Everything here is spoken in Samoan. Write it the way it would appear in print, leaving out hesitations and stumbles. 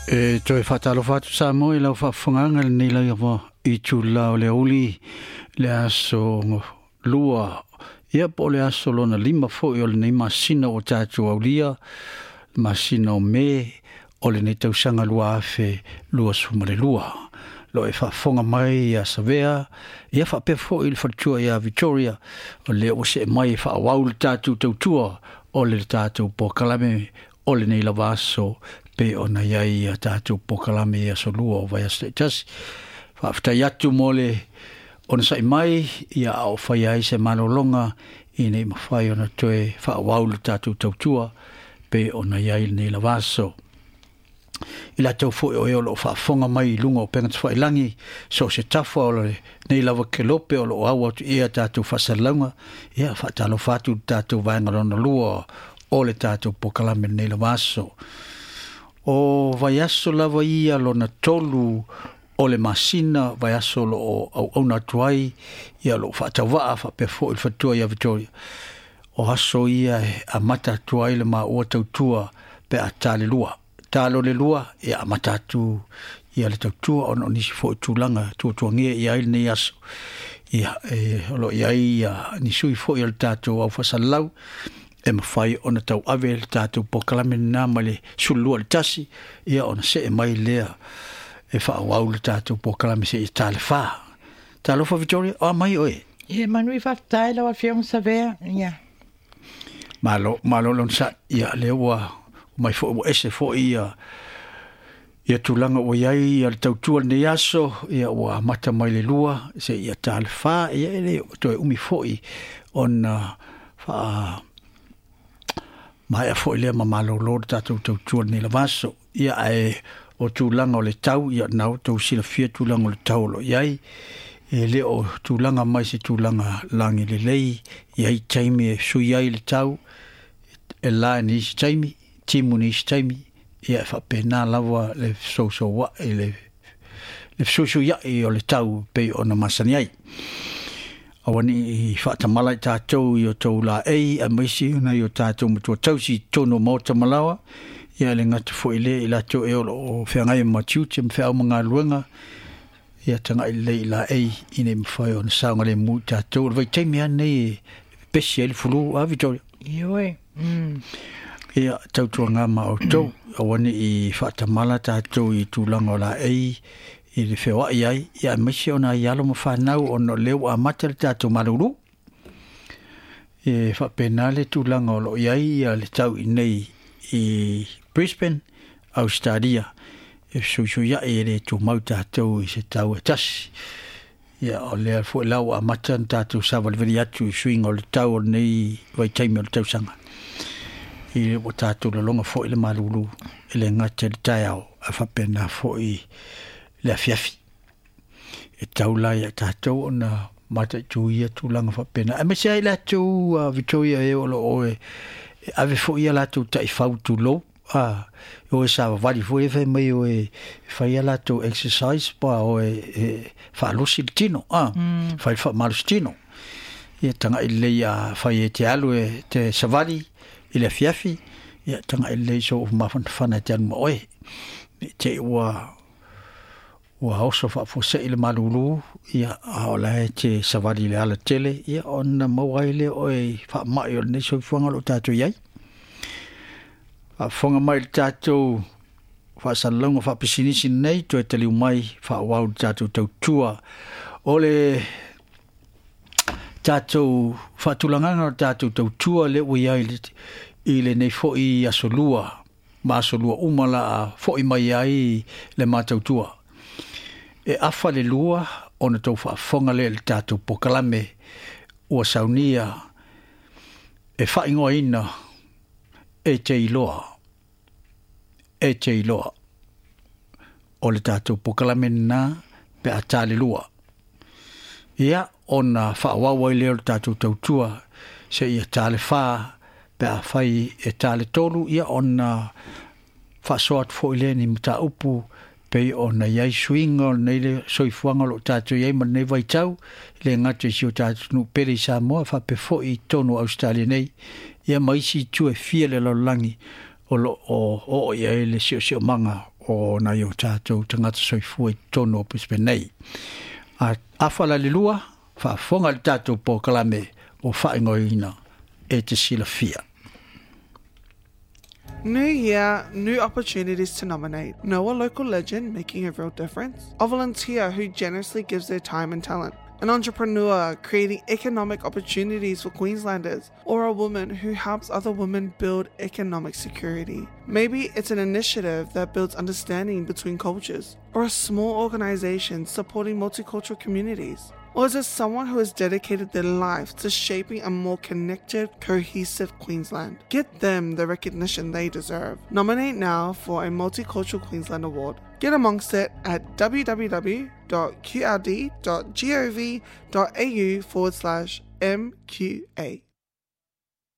E toe faatalofa atu Samoa i lau faafofogaaga i lenei lava itula o le aoauli, le aso lua, ia po o le aso lona 5 foi o lenei masina ua tatou aulia, le masina o Me o lenei tausaga 2022. Lo e faafofoga mai ia Savea, ia faapea foi le faletua ia Victoria, o lea ua see mai e faaauau le tatou tautua o le tatou polokalame o lenei lava aso, pe ona i ai ia tatou polokalame i aso lua o vaiaso taitasi. Faafetai atu mo le onosai mai, ia a o faia ai se malologa ina i mafai ona toe faaauau le tatou tautua pe ona i ai lenei lava aso. I latou foi o e o loo faafofoga mai i luga o upega tafailagi, so o se tafa o lenei lava kelope o loo au atu i ai a tatou faasalalauga, ia faatalofa atu i le tatou vaega lona lua o le tatou polokalame lenei lava aso. O vaiaso lava ia lona 3 o le masina, vaiaso o loo auauna atu ai ia loo faatauvaa faapea foi le faletua ia Victoria. O aso ia e amata atu ai le maua tautua pe a ta le lua. Ta lo le lua, ia amata atu ia le tautua ona o nisi foi tulaga tuatuagia i ai lenei aso. Ia, o lo o i ai ia ni sui foi o le tatou au faasalalau e mafai ona tauave le tatou polokalame lena mai le 12 i le 1, ia ona see mai lea e faaauau le tatou polokalame seia ta le 4. Talofa Victoria, o a mai oe? Ia, manui faafetai lau Afioga Savea. Ia. Malo, malo le onosai. Ia, lea ua mai foi, ua ese foi ia tulaga ua i ai ia le tautua lenei aso, ia ua amata mai le 2 seia ta le 4, ia e le toe umi foi ona faa maea foi lea ma malolo le tatou tautua lenei lava aso. Ia, ae o tulaga o le tau, ia na outou silafia tulaga o le tau o lo o i ai, e le o tulaga mai se tulaga lagi lelei, i ai taimi e sui ai le tau, e la i nisi taimi, timu nisi taimi, ia e faapena lava le fesousoua'i, le fesuisuia'i o le tau pei ona masani ai. Aua ne i faatamala i tatou i o tou laei, aemaise ona i o tatou matua tausi i totonu o maota ma laoa, ia le gata foi lea i latou e o loo feagai ma tiute ma feau ma galuega, ia tagai lelei i laei ina i mafai ona saogalemu i tatou. O le vaitaimi lava lenei e pepesi ai le fulu, a Victoria? Ioe. Ia, tautuaga ma outou, aua ne i faatamala tatou i tulaga o laei i le feoai ai, ia aemaise ona ai alo ma fanau ona o lea ua amata le tatou malulu. E faapena le tulaga o loo i ai ia le tau i nei i Brisbane, Australia, e fesuisuiai e le tumau tatou i se tau e tasi. Ia, o lea foi la ua amata ona tatou savalivali atu i suiga o le tau o lenei vaitaimi o le tausaga. I ua tatou laloga foi le malulu e le gata i le taeao, ae faapena foi le afiafi. E tau la ia tatou ona mataitu ia tulaga faapena. Aemaise ai latou, Victoria, e o loo e ave foi ia latou taifau tulou, o e savavali foi e fai mai o e fai ia latou exercise pa o e faalosi le tino, fai le faamalosi tino. Ia tagai lelei a fai e te alu e te savali i le afiafi, ia tagai lelei so mafanafana e te alu ma oe. Ne i te i ua oso faafuasei le malulu, ia, a o la e te savali le ala tele, ia, ona maua ai lea oe i faamai o lenei soifuaga o loo tatou i ai. Faafofoga mai le tatou faasalalauga faapisinisi nei, toe taliu mai faaauau le tatou tautua o le tatou faatulagaga o le tatou tautua lea ua i ai i lenei foi aso lua, ma aso lua uma la a foi mai ai le matautua. E afa le 2 ona tou faafofoga lea i le tatou polokalame ua saunia e faaigoaina e te iloa, e te iloa. O le tatou polokalame lena pe a ta le 2. Ia, ona faaauau ai lea o le tatou tautua seia ta le 4, pe a fai e ta le 3, ia ona faasoa atu foi lea ni mataupu pei ona i ai suiga o lenei le soifuaga o loo tatou i ai ma lenei vaitau, le gata i si o tatou nuu pele i Samoa, faapea foi i totonu o Australia nei, ia ma isi itu e fia le lalolagi o loo oo i ai le siosiomaga o nai o tātou tagata soifua i totonu o Brisbane nei. A afa la le 2, faafofoga i le tatou polokalame o faaigoaina e te silafia. New year, new opportunities to nominate. Know a local legend making a real difference? A volunteer who generously gives their time and talent. An entrepreneur creating economic opportunities for Queenslanders, or a woman who helps other women build economic security. Maybe it's an initiative that builds understanding between cultures, or a small organization supporting multicultural communities. Or is it someone who has dedicated their life to shaping a more connected, cohesive Queensland? Get them the recognition they deserve. Nominate now for a Multicultural Queensland Award. Get amongst it at www.qld.gov.au/MQA.